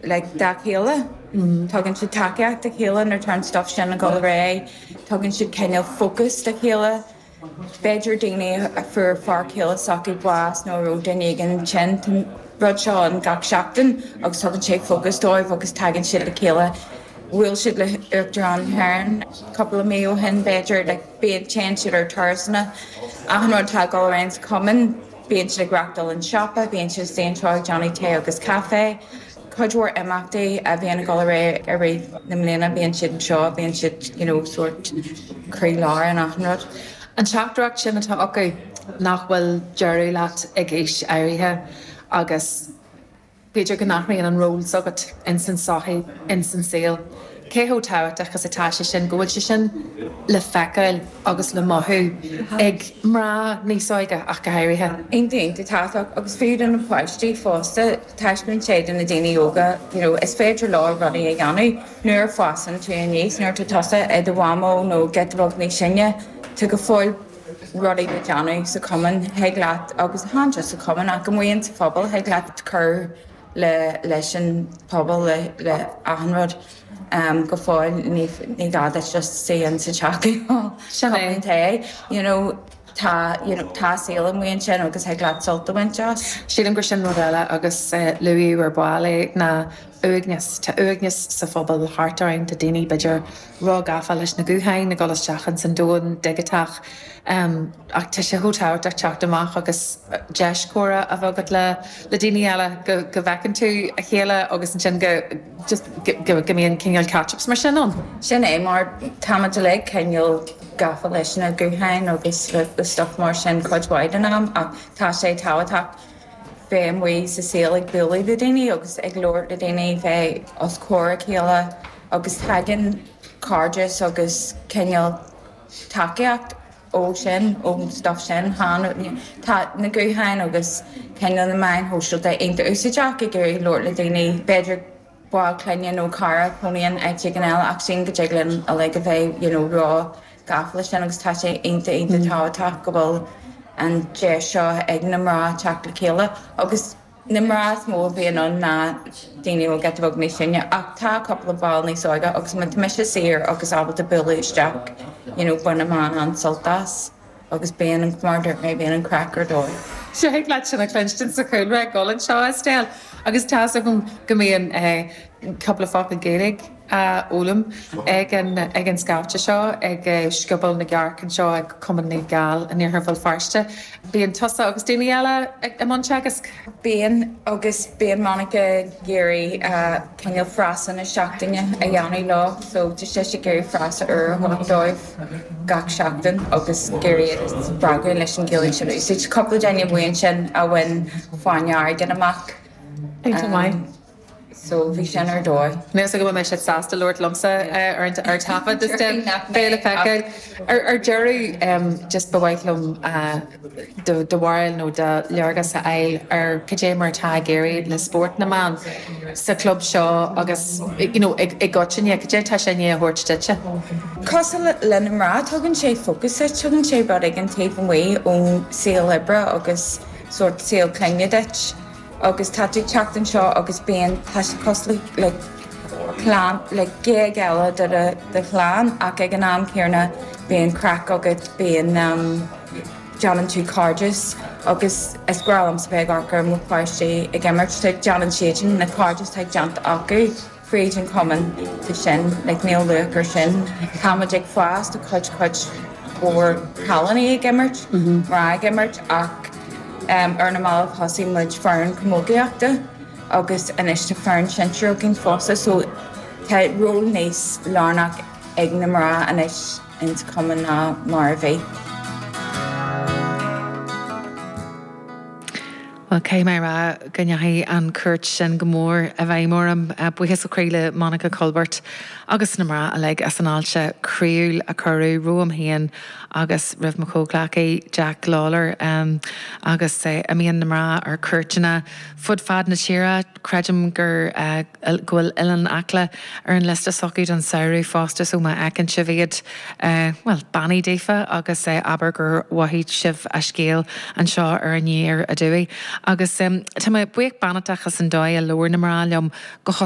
Like dá chéile. Tugann siad tacaíocht dá chéile nuair atá an stuff sin ag dul ar aghaidh. Tugann siad cineál focus dá chéile. B'fhéidir daoine a fuair fear céile s'acu bás nó a raibh duine éigin tinn. Tá an rud seo ann gach seachtain agus tugann sé focus dóibh agus tagann siad le chéile. Bhuail siad le Uachtarán na hÉireann cúpla mí ó shin b'fhéidir. Like bíonn, téann siad ar turasanna. Achan rud atá ag dul ar aghaidh sa chumann. Bíonn siad ag reachtáil an siopa, bíonn siad istigh anseo ag déanamh tae agus caife. Cuid mhór imeachtaí a bhíonn ag dul ar aghaidh i rith na mbliana, bíonn siad anseo, bíonn siad you know sórt croí lár in achan rud. An teachtaireacht sin atá acu, nach bhfuil deireadh leat ag aois áirithe agus. B'fhéidir go n-athraíonn an ról s'agat ins an tsochaí, ins an saol. Cé chomh tábhachtach is atá sé sin, go bhfuil sé sin le feiceáil agus le mothú ag mná níos óige ach go háirithe? Iontach, iontach tábhachtach agus fiú do na páistí fosta, taispeánann sé do na daoine óga you know is féidir leo rudaí a dhéanamh nuair a fásann tú aníos, nuair atá tusa i do mhamó nó giota beag níos sine, tá go fóill rudaí le déanamh sa chumann, thig leat, agus chan just sa chumann ach amuigh in sa phobal, thig leat cur le leis an phobal, le le achan rud go fóill, ní ní gá duit just suí in sa teach ag ól Sin é. cupán tae, you know, tá you know tá saol amuigh ansin agus thig leat sult a bhaint as. Sílim gur sin rud eile agus luadh ar ball é ná uaigneas. Tá uaigneas sa phobal thart orainn, tá daoine b'fhéidir ró-ghafa leis na gutháin, ag dul isteach ins an domhan digiteach. Ach tá sé chomh tábhachtach teacht amach agus deis comhrá a bheith agat le le daoine eile, go go bhfeiceann tú a chéile agus ansin go just go go mbíonn cineál catch-ups mar sin ann. Sin é, mar táimid uilig cineál gafa leis na gutháin agus le stuff mar sin cuid mhaith den am ach tá sé tábhachtach bheith amuigh sa saol ag bualadh le daoine agus ag labhairt le daoine, bheith os comhair a chéile agus tagann cairdeas agus cineál tacaíocht ó sin, ón stuff sin. Tá na gutháin agus cineál na meáin shóisialta iontach úsáideach ag iarraidh labhairt le daoine, b'fhéidir ball clainne nó cara a chónaíonn áit éigin eile ach sílim go dtig linn uilig a bheith you know ró gafa leis sin agus tá sé iontach iontach tábhachtach go bhfuil an deis seo ag na mná teacht le chéile agus na mná is mó a bhíonn ann ná daoine a bhfuil giota beag níos sine ach tá cúpla ball níos óige agus má tá mise saor agus ábalta bualadh isteach you know bainim an-sult as agus bíonn an mar a dúirt mé bíonn an craic ar dóigh. Thig leat sin a chluinstin sa chúlra ag dul anseo, Estelle, agus tá's agam go mbíonn cúpla focal Gaeilge á fhoghlaim ag an ag an scaifte seo ag Scioból na gCearc anseo ag Cumann Naomh Gall in Iarthar Bhéal Feirste. Bíonn tusa agus daoine eile i mbun teagasc? Bíonn, agus bíonn Monica ag iarraidh cineál frása na seachtaine a dhéanamh leo, so tá sise ag iarraidh frása úr a thabhairt dóibh gach seachtain agus ag iarraidh iad a spreagadh leis an Ghaeilge sin a úsáid. Cúpla duine amuigh ansin a bhain Fáinne Airgid amach. Iontach maith. So bhí sin ar dóigh. Níl 'fhios agam an mbeidh siad sásta labhairt liomsa ar an ar taifead is de beidh le feiceáil. Ar ar deireadh just ba mhaith liom do do bharúil nó do léargas a fháil ar cad é mar atá ag éirí le spórt na mban sa chlub seo agus you know i i gcoitinne, cad é atá sé i ndiaidh a thabhairt duitse? Cosúil le na mná, tugann sé focus duit, tugann sé rud éigin taobh amuigh ón saol oibre agus sórt saol clainne duit. agus tá tú ag teacht anseo agus bíonn, tá sé cosúil le clann, le géag eile de do, do chlann ach ag an am céanna bíonn craic agat, bíonn, déanann tú cairdeas agus is breá liomsa bheith ag amharc ar mo pháistí ag imirt, déanann siadsan na cairdeas atá déanta acu. fríd an chumann tá sin, like níl luach ar sin. Táimid ag fás, tá cuid, cuid mhór cailíní ag imirt, mná ag imirt ach ar na mallaibh thosaigh muid foireann camógaíochta agus anois tá foireann sinsir againn fosta so tá ról níos lárnach ag na mná anois ins cumann ná mar a bhí. Bhuel, caithfidh mé a rá go ndeachaigh an chuairt sin go mór i bhfeidhm orm. Buíochas ó chroí le Monica Culbert agus na mná uilig as an fháilte chroíúil a cuireadh romham féin agus roimh mo chomhghleacaí Jack Lawlor. Agus imíonn na mná ar cuairteanna fud fad na tíre. Creidim gur. go bhfuil Oileán Acla ar an liosta s'acu don samhradh fosta so má fheiceann sibh iad, bhuel, beannaigh daofa agus abair gur mhothaigh sibh a scéal anseo ar Aniar Aduaidh. Agus tá mé buíoch beannachtach as an dóigh a labhair na mná liom go.